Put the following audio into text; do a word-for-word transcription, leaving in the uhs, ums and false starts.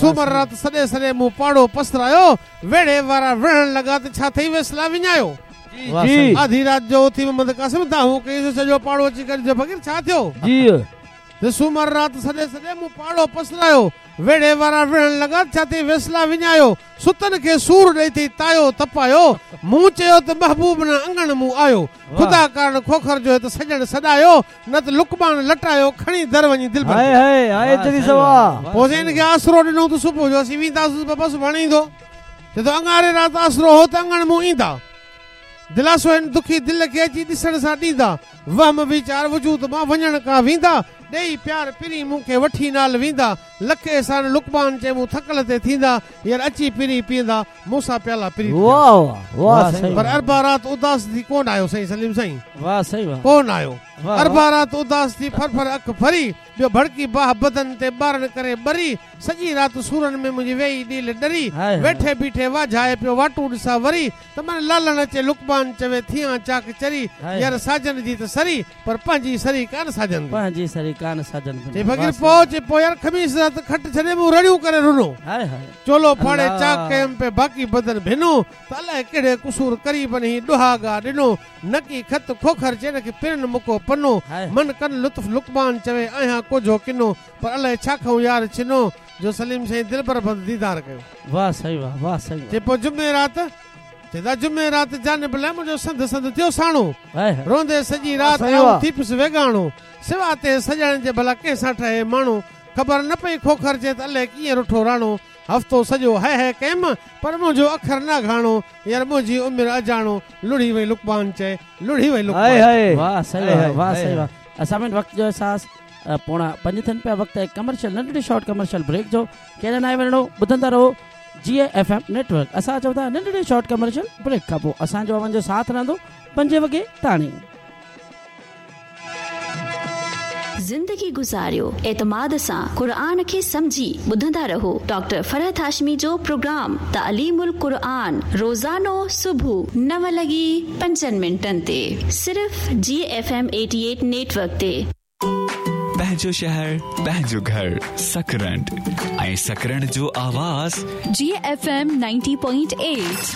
سومر رات سڏي سڏي مون پاڙو پسرايو، ويڙهي وارا وڙهڻ لڳا ته ڇا ٿئي ويسلا وڃايو. جي. آڌي رات جو اٿي محمد قاسم دانهون ڪئي سڄو پاڙو اچي گڏجو فقير ڇا ٿيو؟ جي. ته سومر رات سڏي سڏي مون پاڙو پسرايو، ويڙهي وارا وڙهڻ لڳا ڇا ٿئي ويسلا وڃايو. ستن کي سور ڏئي ٿئي تايو تپايو، مون چيو ته محبوب نه اڱڻ مون آيو. خدا ڪارڻ کوکر جو هت سڄڻ سڏايو، نه ته لقمان لٽايو کڻي در وڃي دلبر. هاء هاء هاء چري سوا. پوءِ هن کي آسرو ڏنو ته صبح جو اسين وينداسين بابا سڀاڻي ايندو. چئي ٿو اڱاري رات آسرو هو ته اڱڻ مون ايندا. دلاسو هن دکي دل کي اچي ڏسڻ سان ڏيندا. وهم ويچار وجود مان وڃڻ کان ويندا. ڏيئي پيار پرين مون کي وٺي نال ويندا. لک احسان لقمان چئي مون ٿڪل تي ٿيندا. يار اچي پرين پيئندا مون سان پيالا پرين. واهه واهه واهه سائين. پر اربع رات اداس ٿي ڪونه آيو سائين سليم سائين. واهه سائين واهه. ڪونه آيو. اربع رات اداس ٿي ڦر ڦر اک ڦري، ٻيو ڀڙڪي باهه بدن تي ٻارن ڪري ٻري. سڄي رات سورن ۾ منهنجي ويهي ڏيل ڏري. ويٺي بيٺي واجهائي پيو واٽون ڏسان وري. ته من لالڻ اچي لقمان چوي ٿيان چاڪ چري. يار ساجن جي ته سري پر پنهنجي سري ڪانه ساجن. پنهنجي سري ڪانه ساجن. چئي فقير پوءِ چئي پوءِ يار خميس رات کٽ ڇڏي مون رڙيون ڪري رنو. چولو ڦاڙي چاڪ ڪيم پي باقي بدن ڀنو. ته الائي ڪهڙي قصور قريبن هي ڏهاڳا ڏنو. نڪي خط کوکر چئي کي پرن مڪو پنو. من ڪن لطف لقمان چوي آهيان ڪجهو ڪنو. پر الائي ڇا کائون يار ڇنو جو سليم سائين دلبر بند ديدار ڪيو. واهه سائين واهه واهه سائين. چئي پوءِ جمعي رات چئي جمعي رات جانب لاءِ منهنجو سنڌ سنڌ ٿيو ساڻو. روندي سڄي رات آئون ٿي پيس ويڳاڻو. سوا تي سڄڻ جي ڀلا ڪنهن سان ٺهي ماڻهو. خبر نه پئي کوکر چئي ته الائي ڪيئن رٺو راڻو. هفتو سڄو هي هي ڪيم پر منهنجو اکر نه گهاڻو. يار منهنجي عمر اجاڻو لڙهي وئي لقمان چئي لڙهي وئي لقمان. واهه سائين واهه سائين واهه. اسان ۾ وقت جو احساس پوڻا پنج ٿين پيا. وقت آهي ڪمرشل ننڍڙي شارٽ ڪمرشل بريڪ جو. ڪيڏانهن ناهي وڃڻو، ٻڌندا رهو جي ايف ايم نيٽ ورڪ. اسان چئون ٿا ننڍڙي شارٽ ڪمرشل بريڪ کان پوءِ اسان جو اوهان جو ساٿ رهندو پنجين وڳي تاڻي. زندگي گذاريو اعتماد سان، قرآن کي سمجهي ٻڌندا رهو. ڊاڪٽر فرحت هاشمي جو پروگرام تعليم القرآن روزانو صبح نو لڳي پنجن منٽن تي صرف جي F M eighty eight network تي. پنهنجو شهر پنهنجو گهر سڪرنڊ ۽ سڪرنڊ جو آواز جي F M ninety point eight.